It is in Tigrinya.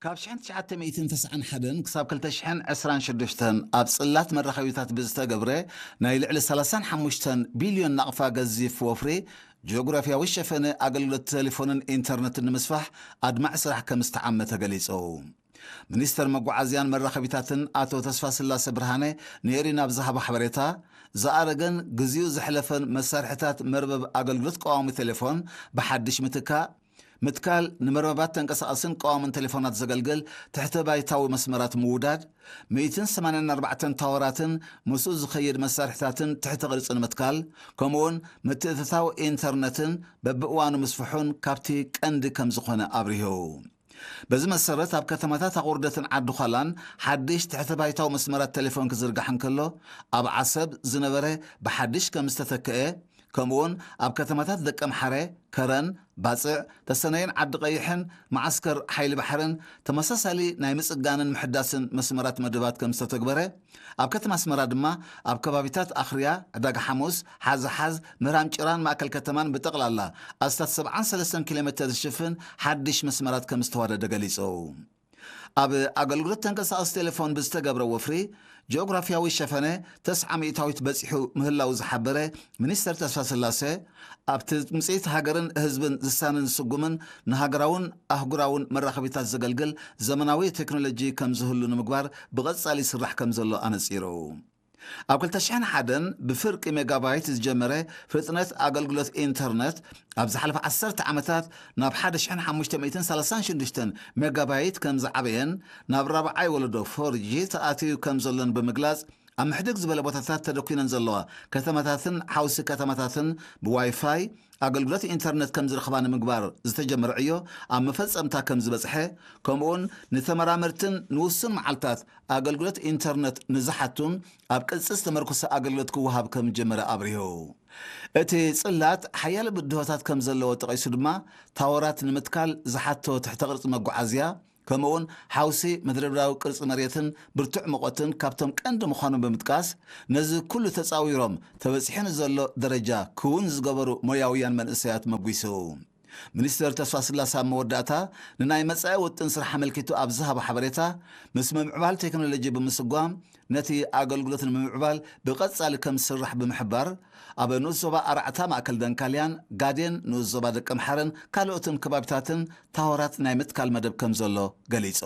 ካብ ሽሕን ትሽዓተ ሚእትን ተስዓን ሓደን ክሳብ ክልተ ሽሕን ዕስራን ሽዱሽተን ኣብ ጽላት መራኸቢታት ብዝተገብረ ናይ ልዕሊ ሰላሳን ሓሙሽተን ቢልዮን ናቕፋ ገዚፍ ወፍሪ፣ ጂኦግራፍያዊ ሸፈነ ኣገልግሎት ቴሌፎንን ኢንተርነትን ንምስፋሕ ኣድማዒ ስራሕ ከም ዝተዓመ ተገሊጹ። ሚኒስተር መጓዓዝያን መራኸቢታትን ኣቶ ተስፋስላሰ ብርሃነ ንኤሪና ኣብ ዝሃቦ ሓበሬታ፣ ዝኣረገን ግዜኡ ዘሕለፈን መሳርሒታት መርበብ ኣገልግሎት ቀዋሚ ቴሌፎን ብሓድሽ ምትካእ፣ ምትካል፣ ንመርበባት ተንቀሳቐስን ቀዋምን ቴሌፎናት ዘገልግል ትሕተ ባይታዊ መስመራት ምውዳድ፣ ሚእትን ሰማንያን ኣርባዕተን ታወራትን ምስኡ ዝኸይድ መሳርሒታትን ትሕተ ቅርጺ ንምትካል፣ ከምኡውን ምትእትታው ኢንተርነትን በብእዋኑ ምስፍሑን ካብቲ ቀንዲ ከም ዝኾነ ኣብሪሁ። በዚ መሰረት ኣብ ከተማታት ኣቑርደትን ዓዲ ዃላን ሓድሽ ትሕተ ባይታዊ መስመራት ቴሌፎን ክዝርጋሕ እንከሎ፣ ኣብ ዓሰብ ዝነበረ ብሓድሽ ከም ዝተተክአ፣ ከምኡውን ኣብ ከተማታት ደቀምሓረ፣ ከረን፣ ባጽዕ፣ ተሰነይን ዓዲ ቀይሕን መዓስከር ሓይሊ ባሕርን ተመሳሳሊ ናይ ምጽጋንን ምሕዳስን መስመራት መደባት ከም ዝተተግበረ፣ ኣብ ከተማ ኣስመራ ድማ ኣብ ከባቢታት ኣኽርያ፣ ዕዳጋ ሓሙስ፣ ሓዝሓዝ፣ ምህራም ጭራን ማእከል ከተማን ብጠቕላላ ኣስታት ሰብዓን ሰለስተን ኪሎ ሜተር ዝሽፍን ሓድሽ መስመራት ከም ዝተዋደደ ገሊጹ። ኣብ ኣገልግሎት ተንቀሳቐሲ ቴሌፎን ብዝተገብረ ወፍሪ፣ ጂኦግራፍያዊ ሸፈነ ተስዓ ሚእታዊት በጺሑ ምህላው ዝሓበረ ሚኒስተር ተስፋስላሴ፣ ኣብቲ ትምጽኢት ሃገርን ህዝብን ዝሳንን ዝስጉምን ንሃገራውን ኣህጉራውን መራኸቢታት ዘገልግል ዘመናዊ ቴክኖሎጂ ከም ዝህሉ ንምግባር ብቐጻሊ ይስራሕ ከም ዘሎ ኣነጺሩ። ኣብ ክልተ ሽሕን ሓደን ብፍርቂ ሜጋባይት ዝጀመረ ፍጥነት ኣገልግሎት ኢንተርነት፣ ኣብ ዝሓለፈ ዓሰርተ ዓመታት ናብ ሓደ ሽሕን ሓሙሽተ ሚእትን ሰላሳን ሽዱሽተን ሜጋባይት ከም ዝዓበየን ናብ ራብዓይ ወለዶ ፎር ጂ ተኣትዩ ከም ዘሎን ብምግላጽ፣ ኣብ ምሕድግ ዝበለ ቦታታት ተደኲነን ዘለዋ ከተማታትን ሓውሲ ከተማታትን ብዋይፋይ ኣገልግሎት ኢንተርነት ከም ዝረኽባ ንምግባር ዝተጀመረ ዕዮ ኣብ መፈጸምታ ከም ዝበጽሐ፣ ከምኡውን ንተመራመርትን ንውሱን መዓልታት ኣገልግሎት ኢንተርነት ንዝሓቱን ኣብ ቅጽ ዝተመርኮሰ ኣገልግሎት ክወሃብ ከም ጀመረ ኣብሪሁ። እቲ ጽላት ሓያለ ብድሆታት ከም ዘለዎ ጠቒሱ ድማ፣ ታወራት ንምትካል ዝሓቶ ትሕተ ቅርጺ መጓዓዝያ፣ ከምኡውን ሓውሲ መድረብራዊ ቅርጺ መሬትን ብርቱዕ ሙቐትን ካብቶም ቀንዲ ምዃኖም ብምጥቃስ፣ ነዚ ኩሉ ተጻዊሮም ተበጺሑ ንዘሎ ደረጃ ክውን ዝገበሩ ሞያውያን መንእሰያት መጒሱ። ሚኒስተር ተስፋስላሰ ኣብ መወዳእታ፣ ንናይ መጻኢ ውጥን ስራሕ ኣመልኪቱ ኣብ ዝሃቦ ሓበሬታ፣ ምስ ምምዕባል ቴክኖሎጂ ብምስጓም፣ ነቲ ኣገልግሎት ንምምዕባል ብቐጻሊ ከም ዝስራሕ ብምሕባር፣ ኣብ ንኡስ ዞባ ኣርዓታ ማእከል ደንካልያን ጋዴን ንኡስ ዞባ ደቀምሓረን ካልኦትን ከባቢታትን ታወራት ናይ ምትካል መደብ ከም ዘሎ ገሊጹ።